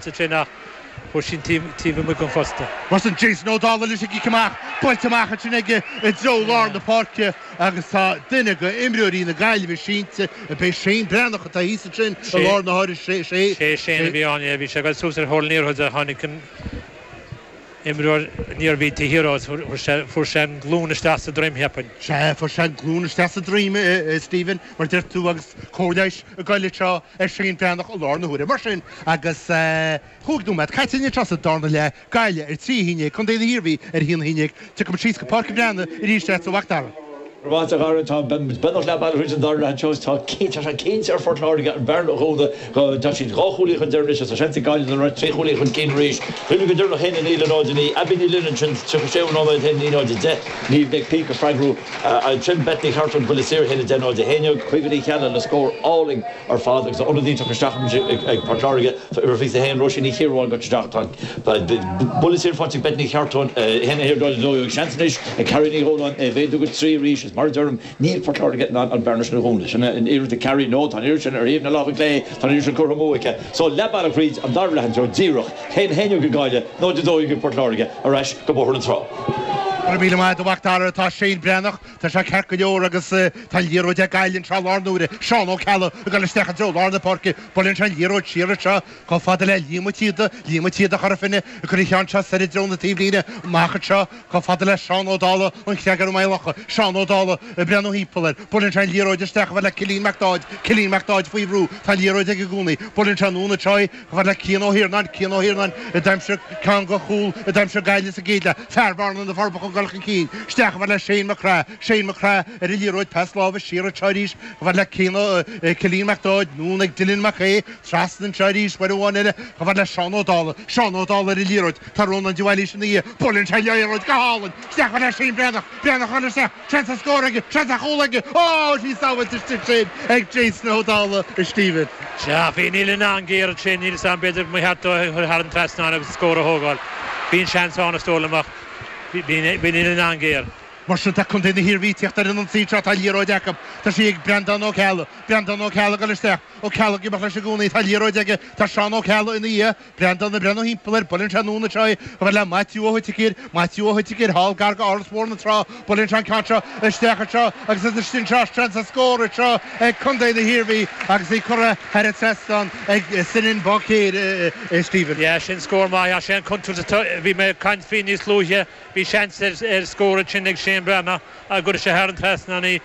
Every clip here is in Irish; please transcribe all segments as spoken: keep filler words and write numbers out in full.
Sin ach fuair sí taobh amuigh den phosta. Mar sin Jason Ó Dálaigh leis an gcic amach, buailte amach ansin aige i dtreo lár na páirce agus tá duine de imreoirí na Gaillimhe sínte, ab é Shane Breathnach atá thíos ansin i lár na háire, sé Sé Shane a bhí ann, yeah, bhí sé ag dul suas ar thóir an liathróid a tháinig an imreoir an Iarmhí taobh thiar dó, fuair sé an glún isteach sa droim, cheapfainn. Sea, fuair sé an glún isteach sa droim, a Stephen, mar deir tú, agus cóir leighis ag goil anseo ar Shane Breathnach i lár na huaire. Mar sin, agus chúig nóiméad caite anseo sa darna leath, Gaillimh ar trí a haon déag, Contae na hIarmhí ar a haon a haon déag, tiocfaimid síos go Páirc an Bhreathnaigh arís leat, a Mhac Dara. Go raibh maith agat, a Dhara. Tá beagnach leath bealaigh thríd an dara leath anseo. Tá tá sé cinnte ar Phort Láirge an bhearna a dhúnadh. Tá siad dhá chúilín chun deiridh anois agus tá seans ag Gaillimh dul ar trí chúilín chun cinn arís. Cuimhnigh go deireanach a haon a naoi le náid a naoi. Abby Ní Fhloinn ansin tríocha séú nóiméad a haon a naoi náid a deich. Niamh Nic Píc ag freagrú ansin. Beth Ní Chartúin buille saor a haon a deich náid a haon déag. Caoimhe Ní Cheallaigh le scór álainn ar fad agus ionadaí tugtha isteach ag Port Láirge. Tá uimhir fiche a haon Róisín Ní Chiaráin gaibhte isteach. Tá buille saor faighte ag Beth Ní Chartúin a haon a haon náid a dó dhéag. Seans anois ag Carrie Ní Dhónáin é a mhéadú go trí arís. Is mar a deirim, níl Port Láirge in ann an bhearna sin a dhúnadh. Sin an iarracht ag Carrie. No, tá an iarracht sin ar thaobh na láimhe clé. Tá an iarracht sin curtha amú aici. So leath bealaigh thríd an dara leath anseo díreach. haon a haon déag ag Gaillimh, náid a dó dhéag ag Port Láirge. Ar ais go Bóthar na Trá. Go raibh míle maith agat, a Mhac Dara. Tá Shane Breathnach, tá sé ceart go leor agus tá an liathróid ag Gaillimh anseo i lár na huaire. Seán Ó Ceallaigh ag dul isteach i dtreo lár na páirce. Buaileann sé an liathróid siar anseo chomh fada le Liam Ó Tíoda. Liam Ó Tíoda Chora Finne ag cur an cheann seo soir i dtreo na taobhlíne. Amach anseo chomh fada le Seán Ó Dálaigh, an Chreag ar an Maigh Locha. Seán Ó Dálaigh ag breathnú thimpeall air. Buaileann sé an liathróid isteach chomh fada le Cillian Mac Dáid. Cillian Mac Dáid faoi bhrú. Tá an liathróid aige i gcónaí. Buaileann sé anonn anseo í chomh fada le Cian Ó hIarnáin. Cian Ó hIarnáin a d'aimsigh ceann de chúil a d'aimsigh Gaillimh sa gcéad leath. Fear Bhearna na Forbacha ag dul chun cinn. Isteach chomh fada le Shane Mac Craith. Shane Mac Craith ar an liathróid. Pas láimhe siar anseo arís chomh fada le Cian Ó Cillian Mac Dáid. Anonn ag Dylan Mac Aodha. Trasna anseo arís uair amháin eile chomh fada le Seán Ó Dálaigh. Seán Ó Dálaigh ar an liathróid. Tá Rónán de Bhailís ina dhiaidh. Buaileann sé an liathróid go hálainn. Isteach chomh fada le Shane Breathnach. Breathnach ag dul isteach. Seans ar scór aige. Seans ar chúl aige. Ó! Bhí sábháilte istigh sin ag Jason Ó Dálaigh, a Stephen. Sea, bhí Neil an-ghéar ansin. Níl 'fhios a'm, b'fhéidir mba cheart dó é a chur thar an trasnán agus an scór a thógáil. Bhí an seans ann is dóigh liom ach bhí Neil an-ghéar. Mar sin tá Contae na hIarmhí ag tíocht ar an ionsaí anseo. Tá an liathróid acu. Tá sí ag Breandán Ó Ceallaigh. Breandán Ó Ceallaigh ag dul isteach. Ó Ceallaigh ag imeacht leis i gcónaí. Tá an liathróid aige. Tá Seán Ó Ceallaigh ina dhiaidh. Breandán ag breathnú thimpeall air. Buaileann sé anonn anseo í chomh fada le Maitiú Ó hOiticír. Maitiú Ó hOiticír thall gar go Áras Bhóthar na Trá. Buaileann sé an ceann seo isteach anseo agus is istigh anseo seans ar scór anseo ag Contae na hIarmhí agus í curtha thar an trasnán ag Senan Báicéir, a Stephen. Yeah, sin scór maith. Yeah, sin an contúirt atá, bhí mé ag caint faoi níos luaithe. Bhí seans ar scór ansin ag Shane Breathnach ach go raibh sé thar an trasnán ní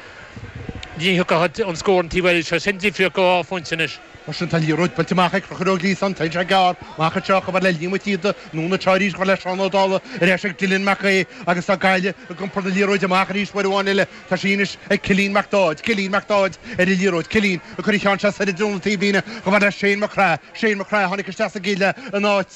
thiocfadh an scór an taobh eile seo. Sin difríocht de dhá phointe anois. Mar sin tá an liathróid buailte amach ag Conchúr Ó Gliasáin, téann sé gearr amach anseo chomh fada le Liam Ó Tíoda, anonn anseo arís chomh fada le Seán Ó Dálaigh, ar ais ag Dylan Mac Aodha agus tá Gaillimh ag iompar na liathróide amach arís uair amháin eile. Tá sí anois ag Cillian Mac Dáid, Cillian Mac Dáid ar an liathróid, Cillian ag cur an cheann seo soir i dtreo na taobhlíne chomh fada le Shane Mac Craith, Shane Mac Craith a tháinig isteach sa gcéad leath in áit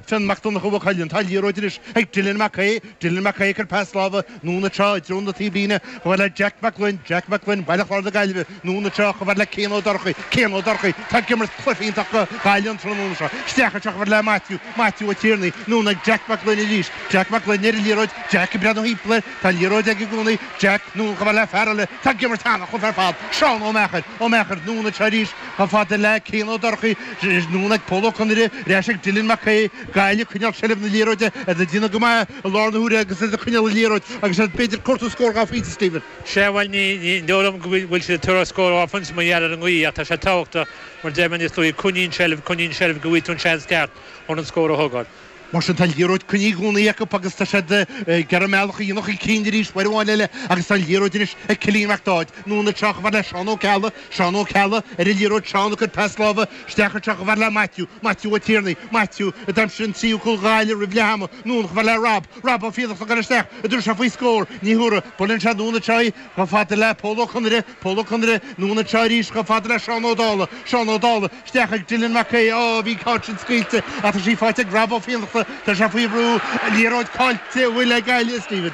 Fionn Mac Donncha Mhaigh Cuilinn. Tá an liathróid anois ag Dylan Mac Aodha, Dylan Mac Aodha ag cur pas láimhe anonn anseo i dtreo na taobhlíne chomh fada le Jack Mac Gloinn, Jack Mac Gloinn, Baile Chláir na Gaillimhe, anonn anseo chomh fada le Cian Ó Dorchaí, Cian Ó Dorchaí, tá ag imirt cluiche iontach do Ghaillimh an tráthnóna seo. Isteach anseo chomh fada le Maitiú, Maitiú Ó Tiarnaigh, anonn ag Jack Mac Gloinn arís, Jack Mac Gloinn ar an liathróid, Jack ag breathnú thimpeall air, tá an liathróid aige i gcónaí, Jack, anonn chomh fada le fear eile, tá ag imirt an-chluiche ar fad, Seán Ó Meachair, Ó Meachair, anonn anseo arís chomh fada le Cian Ó Dorchaí, anonn ag Pól Ó Conaire, ar ais ag Dylan Mac Aodha, Gaillimh ag coinneáil seilbh na liathróide, iad ag déanamh go maith i lár na huaire agus iad ag coinneáil an liathróid agus iad b'fhéidir ag cuartú scór dhá phointe, Stephen. Sea, bhuel, ní dóigh liom go bhfuil siad ag tabhairt scór dhá phointe mar gheall ar an ngaoth ach tá sé tábhachtach, mar a deir mé níos luaithe, coinnigh an tseilbh, coinnigh an tseilbh go bhfaighidh tú an seans ceart chun an scór a thógáil. Mar sin tá an liathróid coinnithe i gcónaí acu agus tá siad ag iarraidh a mbealach a dhéanamh chun cinn arís uair amháin eile agus tá an liathróid anois ag Cillian Mac Dáid. Anonn anseo chomh fada le Seán Ó Ceallaigh, Seán Ó Ceallaigh ar an liathróid, Seán ag cur pas láimhe isteach anseo chomh fada le Maitiú, Maitiú Ó Tiarnaigh, Maitiú a d'aimsigh an tríú cúl do Ghaillimh roimh leath ama, anonn chomh fada le Rob, Rob Ó Fiannachta ag dul isteach, an dtabharfaidh sé faoi scór, ní thabharfaidh, buaileann sé anonn anseo í chomh fada le Pól Ó Conaire, Pól Ó Conaire, anonn anseo arís chomh fada le Seán Ó Dálaigh, Seán Ó Dálaigh, isteach ag Dylan Mac Aodha, Á, bhí an ceann sin scaoilte ach tá sí faighte ag Rob Ó Fiannachta, tá sé faoi bhrú, liathróid caillte, an bhfuil ag Gaillimh, a Stephen?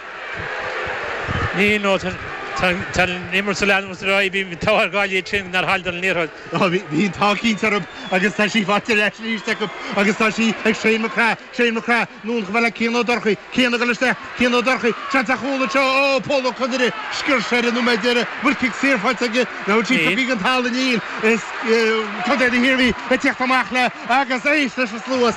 Níl, nó tá Tá an imirt ag leanúint ar aghaidh, bhí an t-ádh ar Ghaillimh sin nár chailleadar an liathróid. Bhí an t-ádh cinnte orthu agus tá sí faighte ar ais arís acu agus tá sí ag Shane McGrath, Shane McGrath, anonn chomh fada le Cian Ó Dorchaí, Cian ag dul isteach, Cian Ó Dorchaí, seans ar chúl anseo, ó Pól Ó Conaire, sciorr sé ar an nóiméad deiridh, bhfuil cic saor faighte aige, nó sí tugtha den talamh níl, is Contae na hIarmhí ag teacht amach le agus éist leis an slua.